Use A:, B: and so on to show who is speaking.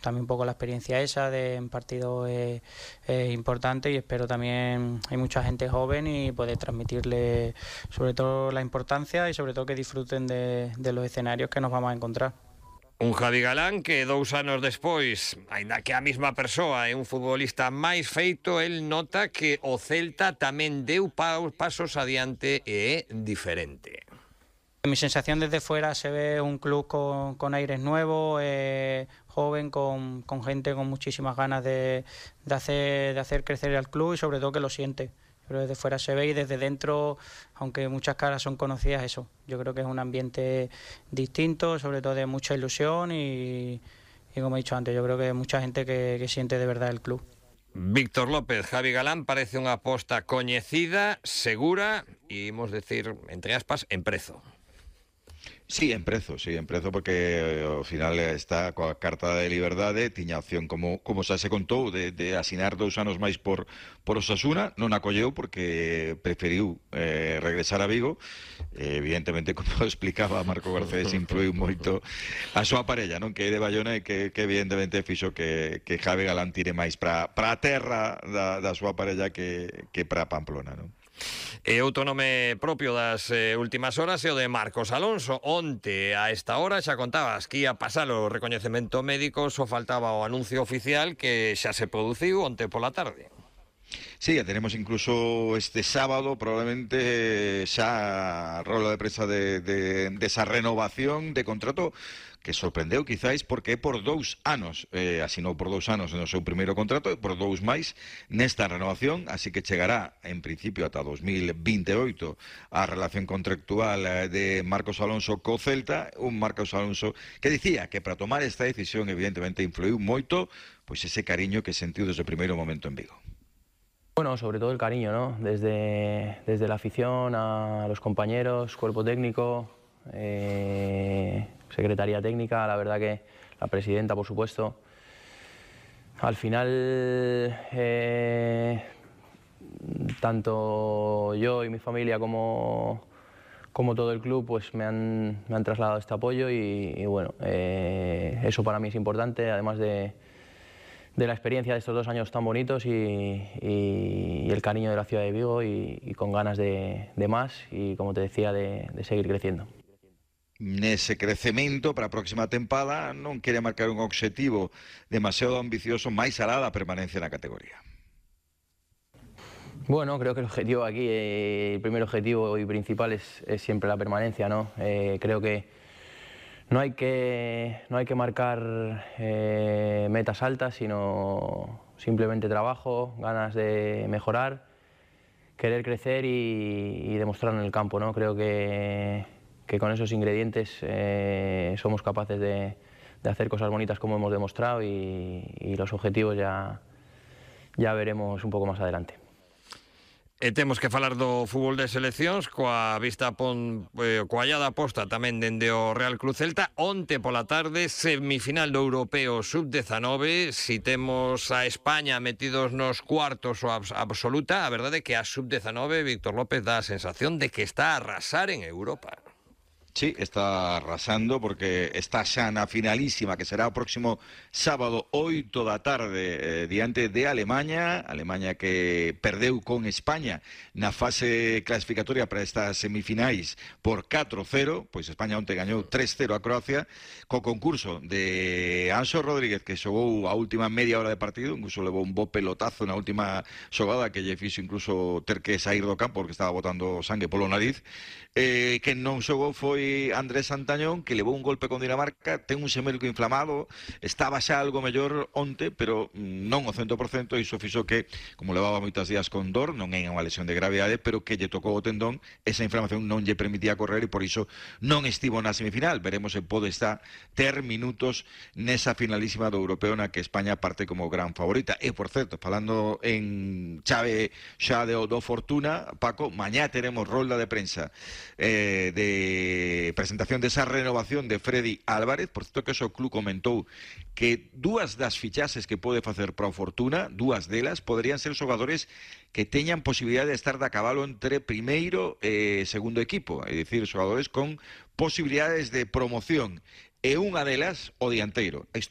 A: También un poco la experiencia esa de en partidos es importante, y espero también hay mucha gente joven y poder transmitirle sobre todo la importancia y sobre todo que disfruten de los escenarios que nos vamos a encontrar.
B: Un Javi Galán que 2 anos despois, aínda que a mesma persoa é un futbolista máis feito, el nota que o Celta tamén deu pasos adiante e é diferente.
A: Mi sensación desde fuera se ve un club con aires nuevos, joven, con gente con muchísimas ganas de hacer crecer al club y sobre todo que lo siente. Pero desde fuera se ve y desde dentro, aunque muchas caras son conocidas, eso. Yo creo que es un ambiente distinto, sobre todo de mucha ilusión y como he dicho antes, yo creo que hay mucha gente que siente de verdad el club.
B: Víctor López, Javi Galán parece unha aposta coñecida, segura e, imos decir, entre aspas, en prezo.
C: Sí, en prezo, porque ao final está coa carta de liberdade, tiña opción, como xa se contou, de asinar 2 anos máis por Osasuna, non acolleu porque preferiu regresar a Vigo. Evidentemente, como explicaba Marco Garcés, influiu moito a súa parella, non, que é de Bayona, e que evidentemente fixo que Javi Galán tire máis para a terra da súa parella que para Pamplona, non?
B: E outro nome propio das últimas horas é o de Marcos Alonso. Onte, a esta hora, xa contabas que ia pasar o recoñecemento médico, só faltaba o anuncio oficial que xa se produciu onte pola tarde.
C: Sí, ya tenemos incluso este sábado probablemente xa rola de prensa de esa renovación de contrato, que sorprendeu quizáis porque é por 2 anos, asinou por 2 anos no seu primeiro contrato e por 2 máis nesta renovación, así que chegará en principio ata 2028 a relación contractual de Marcos Alonso co Celta, un Marcos Alonso que dicía que para tomar esta decisión evidentemente influiu moito pois ese cariño que sentiu desde o primeiro momento en Vigo.
D: Bueno, sobre todo el cariño, ¿no? Desde la afición a los compañeros, cuerpo técnico, secretaría técnica, la verdad que la presidenta, por supuesto. Al final, tanto yo y mi familia como todo el club pues me han trasladado este apoyo y bueno, eso para mí es importante, además de la experiencia de estos 2 años tan bonitos y el cariño de la ciudad de Vigo y con ganas de más y, como te decía, de seguir creciendo.
C: Nese crecemento para a próxima tempada non quere marcar un obxectivo demasiado ambicioso máis alá da permanencia na categoría.
D: Bueno, creo que el objetivo aquí, el primer objetivo y principal es siempre la permanencia, ¿no? Creo que no hay que marcar metas altas, sino simplemente trabajo, ganas de mejorar, querer crecer y demostrarlo en el campo, ¿no? Creo que con esos ingredientes somos capaces de hacer cosas bonitas como hemos demostrado y los objetivos ya veremos un poco más adelante.
B: E temos que falar do fútbol de seleccións coa vista coa allada aposta tamén dende o Real Club Celta. Onte pola tarde, semifinal do Europeo Sub-19. Si temos a España metidos nos cuartos o absoluta, a verdade é que a Sub-19, Víctor López, dá a sensación de que está a arrasar en Europa.
C: Sí, está arrasando porque está xa na finalísima, que será o próximo sábado 8 da tarde diante de Alemanha que perdeu con España na fase clasificatoria para estas semifinais por 4-0, pois España onte gañou 3-0 a Croacia, co concurso de Anxo Rodríguez, que xogou a última media hora de partido, incluso levou un bo pelotazo na última xogada que lle fixo incluso ter que sair do campo porque estaba botando sangue polo nariz. Que non xogou foi Andrés Santañón, que levou un golpe con Dinamarca, ten un xemelgo inflamado, estaba xa algo mellor onte, pero non o 100%, e iso fixo que, como levaba moitos días con dor, non é unha lesión de gravidade, pero que lle tocou o tendón, esa inflamación non lle permitía correr e por iso non estivo na semifinal. Veremos se pode estar ter minutos nesa finalísima do Europeo na que España parte como gran favorita. E, por certo, falando en chave xa do Fortuna, Paco, mañá teremos rolda de prensa de presentación desa renovación de Freddy Álvarez. Por certo que o club comentou que 2 das fichaxes que pode facer para o Fortuna, 2 delas poderían ser xogadores que teñan posibilidade de estar de a cabalo entre primeiro e segundo equipo, é dicir, xogadores con posibilidades de promoción, e unha delas o dianteiro. Isto